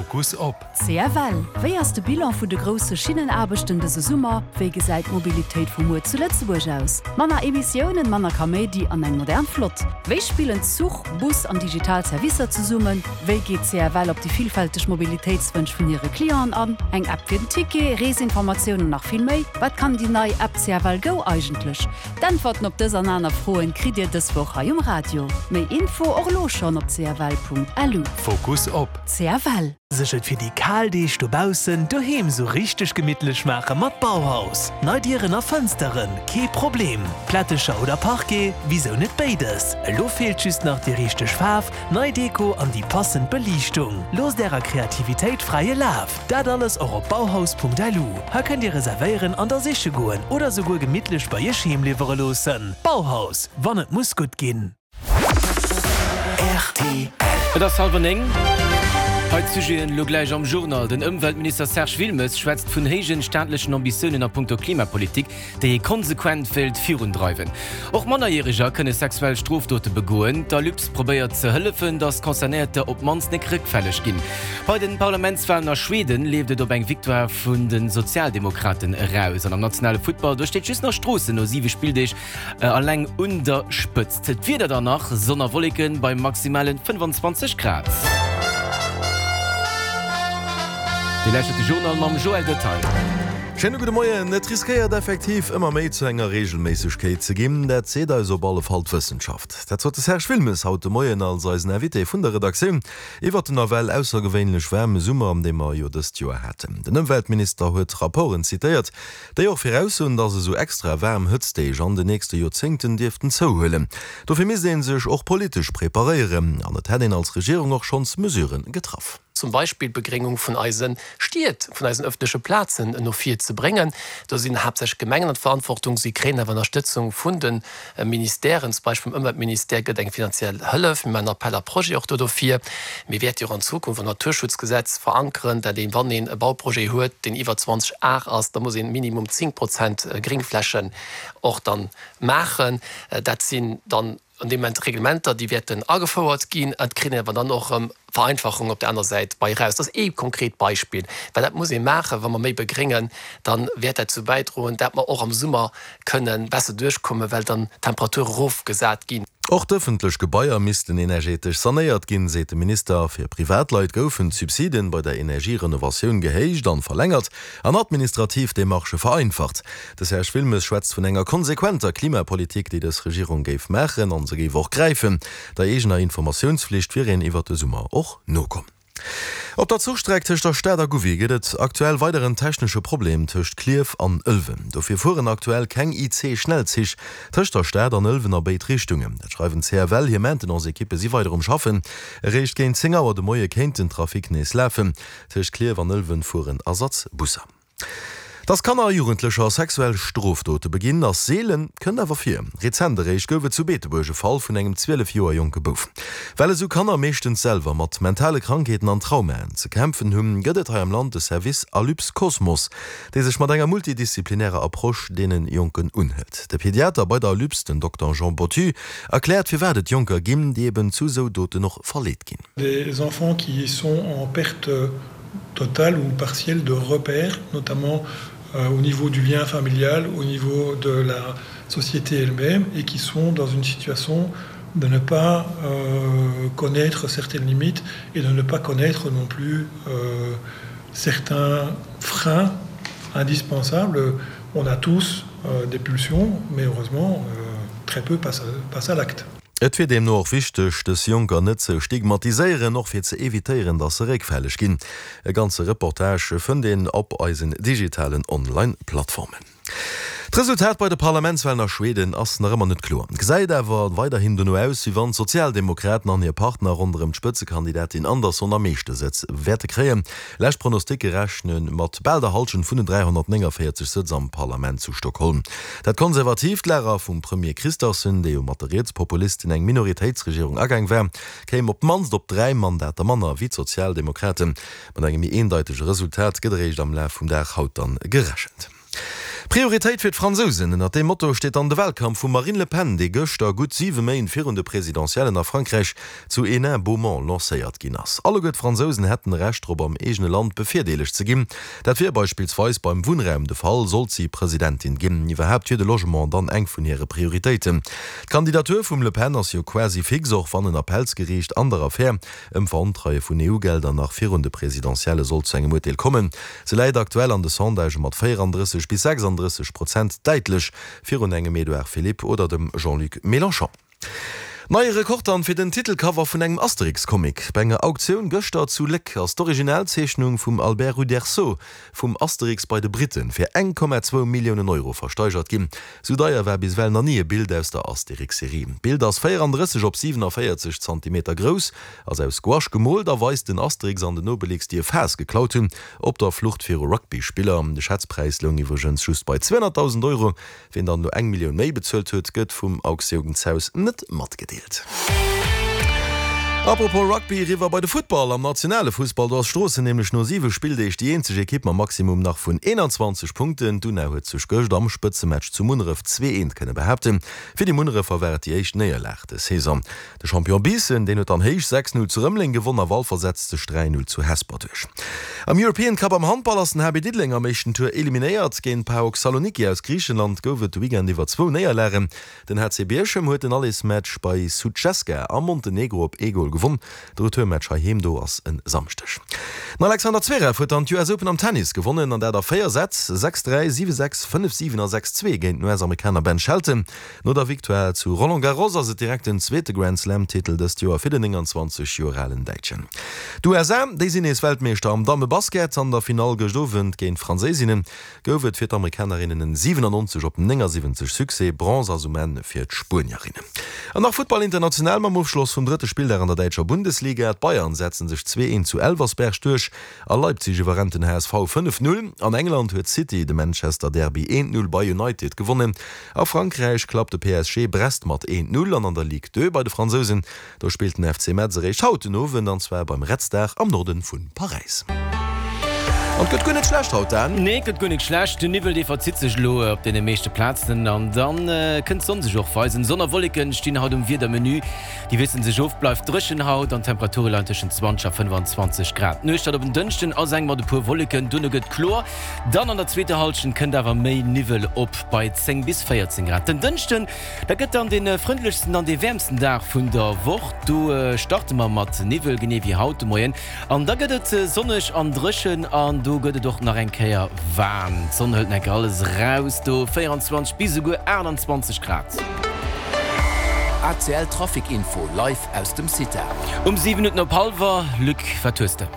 Fokus op. CFL, Wéi ass de Bilan vun de grousse Schinnenaarbechten dëse Summer? Wéi gesäit d'Mobilitéit vu muer zu Lëtzebuerg aus? Manner Emissiounen, manner Kaméidi an eng modern Flott. Wéi spillen Zuch, Bus an digital Servicer zesummen? Wéi geet CFL op déi villfälteg Mobilitéitswënsch vun hire Clienten an? Eng App fir den Ticket, Reesinformatiounen an nach vill méi. Wat kann déi nei App CFL Go eigentlech? D'Äntwerten op dës an aner Froen kritt Dir dës Woch hei um Radio. Méi Info och elo schonn op cfl.lu. Fokus op. CFL. Sech et fir déi kal Deeg dobaussen doheem sou richteg gemittlech maache mat Bauhaus. Nei Dieren a Fënsteren, kee Problem. Plättecher oder Parquet, wisou net béides? Elo feelt just nach déi richteg Faarf, nei Deko an déi passend Beliichtung. Loosst ärer Kreativitéit fräie Laf! Dat alles och op bauhaus.lu. Hei kënnt dir reservéieren an da siche goen oder souguer gemittlech bei iech heem liwwere loossen. Bauhaus, wann et muss gutt ginn. Rtl. Et ass hallwer 9. Hei d'Sujeten elo gläich am Journal. Den Ëmweltminister Serge Wilmes schwätzt vun héijen staatlechen Ambitiounen a punkto Klimapolitik, déi ee konsequent wéilt virundreiwen. Och Mannerjäreger kënne sexuell Strofdote begoen. D'Alups probéiert ze hëllefen, datt Concernéierter op d'mannst nek réckfälleg ginn. Bei den Parlamentswalen a Schweden leeft et op eng Victoire vun de Sozialdemokraten eraus. An am nationale Futtball, do steet just nach Stroossen no 7 Spilldeeg Alleng un der Spëtzt. D'Wieder dann nach, Sonn a Wolleken bei maximalen 25 Grad. Dir lauschtert de Journal mam Joël Detaille. Schéine gudde Moien. Et riskéiert effektiv ëmmer méi zu enger Reegelméissegkeet ze ginn. Dat seet eis op alle Fall d'Wëssenschaft. Dat sot de Serge Wilmes haut de Moien als eisen Invité vun der Redaktioun iwwert den nawell aussergewéinlech waarme Summer, dee mer jo dëst Joer haten. Den Ëmweltminister huet Rapporten zitéiert, Déi och viraussoen, dass esou extra waarm Hëtztdeeg an den nächste Joerzéngten dierften zouhuelen. Dofir misst ee sech och politesch preparéieren an et hätt een als Regierung och schonns Mesurë getraff. Zum Beispill d'Begréngung vun eise Stied, vun eisen ëffentleche Plazen no vir ze bréngen. Do sinn haaptsächlech d'Gemengen an d'Verantwortung. Si kréien awer Ënnerstëtzung vun de Ministèren, zum Beispill vum Ëmweltministère gëtt eng finanziell Hëllef. Mir maachen Appel à projets och do dofir. Mir wäerte jo och an Zukunft am Naturschutzgesetz verankeren, dat een, wann een e Bauprojet huet, deen iwwer 20 Ar ass, da muss een minimum 10 Prozent Gréngflächen och dann maachen. Dat sinn dann an deem Moment Reglementer, déi wäerten agefouert ginn. Et kritt een awer dann och erëm Vereinfachung op der aner Säit bei eraus. Dat ass ee konkret Beispill, well dat muss ee maachen, wa mer méi begréngen, da wäert dat dozou bäidroen, dat mer och am Summer kënnen besser duerchkommen, well dann d'Temperature erofgesat ginn. Och d'ëffentlech Gebaier missten energetesch sanéiert ginn, seet de Minister. Fir Privatleit goufen d'Subsiden bei der Energierenovatioun gehéicht an verlängert an administrativ Demarchë vereinfacht. De Serge Wilmes schwätzt vun enger konsequenter Klimapolitik, déi dës Regierung géif maachen an se géif och gräifen. Der eegener Informatiounsflicht wier een iwwert de Summer och nokomm. Op der Zuchstreck tëscht der Stad a Gouvy gëtt et aktuell weider en technesche Problem tëscht Klierf an Ëlwen. Dofir fueren aktuell keng IC-Schnellzich tëscht der Stad an Ëlwen a béid Richtungen. Dat schreiwen d'CFL. Hir Maintenance-Ekippe si weider um Schaffen. Eréischt géint 10 Auer de Moie kéint den Trafic nees lafen. Tëscht Klierf an Ëlwen fueren Ersatzbusser. Dass Kanner a Jugendlecher sexuell Strofdote beginn, ass seelen, kënnt awer vir. Rezent eréischt gouf et zu Beetebuerg e Fall vun engem 12 Joer jonke Bouf. Well esou Kanner meeschtens selwer mat mentale Krankheeten an Traumaen ze kämpfen hunn, gëtt et hei am Land de Service Alyps Cosmos, dee sech mat enger multidisziplinärer Approche deene Jonken unhëlt. De Pediater bei der Alyps, den Dokter Jean Bottu, erkläert firwat et Jonker ginn, déi eben zu esou Doten och verleet ginn. Des enfants qui sont en perte totale ou partielle de repères, notamment euh, au niveau du lien familial, au niveau de la société elle-même et qui sont dans une situation de ne pas euh, connaître certaines limites et de ne pas connaître non plus euh, certains freins indispensables. On a tous euh, des pulsions, mais heureusement euh, très peu passe à, passe à l'acte. Et wier deemno och wichteg, dës Jonker net ze stigmatiséieren, och fir ze evitéieren, datt se réckfälleg ginn. E ganze Reportage fënnt een op eisen digitalen Online-Plattformen. D'Resultat bei de Parlamentswalen a Schweden ass nach ëmmer net kloer. Gesäit awer weiderhin dono aus, wéi wann d'Sozialdemokraten an hir Partner ronderëm d'Spëtzekandidatin Andersson am meeschte Sëtz wäerte kréien. Lescht Pronosticke rechne mat bal der Hallschent vun den 349 Sëtz am Parlament zu Stockholm. Dat konservatiivt Lager vum Premier Kristersson, dee jo mat de Rietspopulisten eng Minoritéitsregierung agaang war, kéim op d'mannst op 3 Mandater manner wéi d'Sozialdemokraten. Mat engem méi eendeitege Resultat gëtt eréischt am Laf vum Dag haut dann gerechent. Prioritéit fir d'Fransousen, ënnert deem Motto steet dann de Wahlkampf vum Marine Le Pen, dee gëschter, gutt siwe Méint virun de Presidentiellen a Frankräich, zu Hénin-Beaumont lancéiert ginn ass. Alleguer d'Fransousen hätten e Recht drop am eegene Land bevirdeelegt ze ginn. Dat wier beispillsweis beim Wunnraum de Fall, sollt si Presidentin ginn. Iwwerhaapt wier de Logement dann eng vun hire Prioritéiten. D'Kandidatur vum Le Pen ass jo quasi fix, och wann en Appellsgeriicht an der Affär ëm Verontreie vun EU-Gelder nach virun de Presidentielle sollt zu engem Urteel kommen. Se läit aktuell an de Sondagë mat 34 bis 36 Prozent däitlech virun engem Edouard Philippe oder dem Jean-Luc Mélenchon. Neie Rekord dann fir den Titelcover vun engem Asterix-Comic. Bei enger Auktioun gëschter zu Léck ass d'Originalzeechnung vum Albert Uderzo vum Asterix bei de Briten fir 1,2 Milliounen Euro versteigert ginn. Sou deier war bis ewell nach ni e Bild aus der Asterix-Serie. D'Bild ass 34 op 47 Zantimeter grouss, ass aus Gouache gemoolt a weist den Asterix an den Obelix, déi e Faass geklaut hunn, op der Flucht viru Rugby-Spiller. De Schätzpräis loung iwwregens just bei 200.000 Euro. Wien dann elo eng Millioun méi bezuelt huet, gëtt vum Auktiounshaus net matgedeelt. Apropos Rugby, eriwwer bei de Futtball. Am nationale Fussball, do ass Stroossen nämlech no 7 Spilldeeg déi eenzeg Ekipp mam Maximum nach vun 21 Punkten. D'Una huet sech gëscht am Spëtzematch zu Munneref 2, 1 kënne behaapten. Fir déi Munnerefer war et déi éischt Néierlag des Saison. De Champion Biissen, deen huet dann héich 6, 0 zu Rëmeleng gewonn a Walfer setzt sech 3, 0 zu Hesper duerch. Am European Cup am Handball ass den HB Diddeleng am éischten Tour eliminéiert. Géint PAOK Saloniki aus Griichenland gouf et de Weekend iwwer zwou Néierlagen. Den HC Bierchem huet den Allesmatch bei Sutjeska a Montenegro op ee Gol gewonn. De Retourmatch heiheem do ass e Samschdeg. Den Alexander Zverev huet dann d'US Open am Tennis gewonnen an dat a 4 Sätz, 6, 3, 7, 6, 5, 7 a 6, 2 géint den US-Amerikaner Ben Shelton. No der Victoire zu Roland Garros ass et direkt den zweete Grand-Slam-Titel dëst Joer fir den 29 Joer alen Däitschen. D'USA, déi sinn nees Weltmeeschter am Damme-Basket. An der Finall gëscht Owend géint d'Franséisinnen gouf et fir d'Amerikanerinnen en 97 op 79 Succès. Bronze ass um Enn fir d'Spuenierinnen. An nach Futtball international mam Ofschloss vum drëtte Spilldag an der däitscher Bundesliga. D'Bayern setze sech 2, 1 zu Elversberg duerch. A Leipzig iwwerrennt den HSV 5, 0. An England huet City de Manchester Derby 1, 0 bei United gewonnen. A Frankräich klappt de PSG Brest mat 1, 0 an an der Ligue 2 bei de Fransousen, do spillt den FC Metz eréischt haut den Owend an zwar beim Red Star am Norde vu Paräis. An et gëtt guer net schlecht haut, Dan. Nee, et gëtt guer net schlecht. Den Niwwel, dee verzitt sech elo op deene meeschte Plazen an dann kënnt d'Sonn sech och weisen. Sonn a Wolleken stinn haut um Wiedermenü. Déi wiesselen sech of, bleift dréchen haut an d'Temperature leien tëschent 20 a 25 Grad. D'Nuecht haut op en Dënschden ass eng mat e puer Wolleken, duerno gëtt kloer. Dann an der zweeter Hallschent kënnt awer méi Niwwel op bei 10 bis 14 Grad. Den Dënschden, dat gëtt dann dee frëndlechsten an dee wäermsten Dag vun der Woch. Do starte mer mat Niwwel, genee wéi haut de Moien. An da gëtt et sonneg an dréchen an do gëtt et och nach eng Kéier waarm. D'Sonn hëlt nach eng Kéier alles eraus, do 24 bis esouguer 28 Grad. ACL Trafic Info live aus dem CITA. Um 7 Minutten op hallwer, Luc, wat hues de?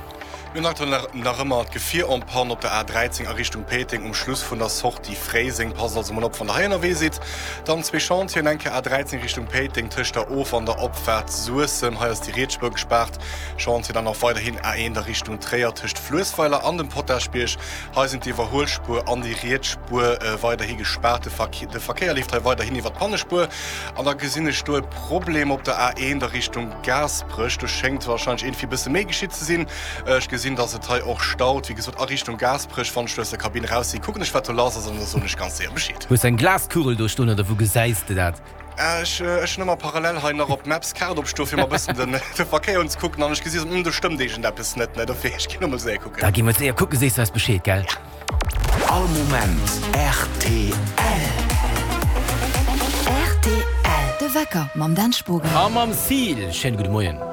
Mir hunn aktuell nach ëmmer d'Gefier en panne op der A13 a Richtung Péiteng um Schluss vun der Sortie Fréiseng. Passt also mol op wann der hei ënnerwee sidd. Dann zwee Chantieren, eng Kéier A13 Richtung Péiteng tëscht der Of an der Opfaart Suessem, hei ass déi riets Spuer gespaart. Chantier dann och weiderhin A1 a Richtung Tréier tëscht Fluessweiler an dem Potaschbierg, hei sinn d'Iwwerhuelspuer an déi riets Spuer weiderhi gespaart. De Verkéier leeft hei weiderhin iwwer d'Pannespuer. An da gesinn ech do e Problem op der A1 a Richtung Gaasperech. Do schéngt warscheinlech iergendwéi e bësse méi geschitt ze sinn. Ech gesinn, dass et hei och staut, wéi gesot, a Richtung Gaasperech. Wann ech do aus der Kabinn eraus sinn, kucken ech, wat do lass ass, an da soen ech ganz séier Bescheed. Hues de eng Glaskugel do stoen oder wou gesäis de dat? Ech hunn ëmmer parallel hei nach op Maps d'Kaart opstoen, fir mer e bëssen de Verkéier unzekucken, an ech gesi sou, Hm, do stëmmt iergendeppes net, ne? Dofir, ech ginn emol séier kucken. Da gi mer séier kucken, sees de eis Bescheed, gell? All Moment rtl. Rtl, De Wecker mam Dan Spogen. A mam Seal. Schéine gudde Moien.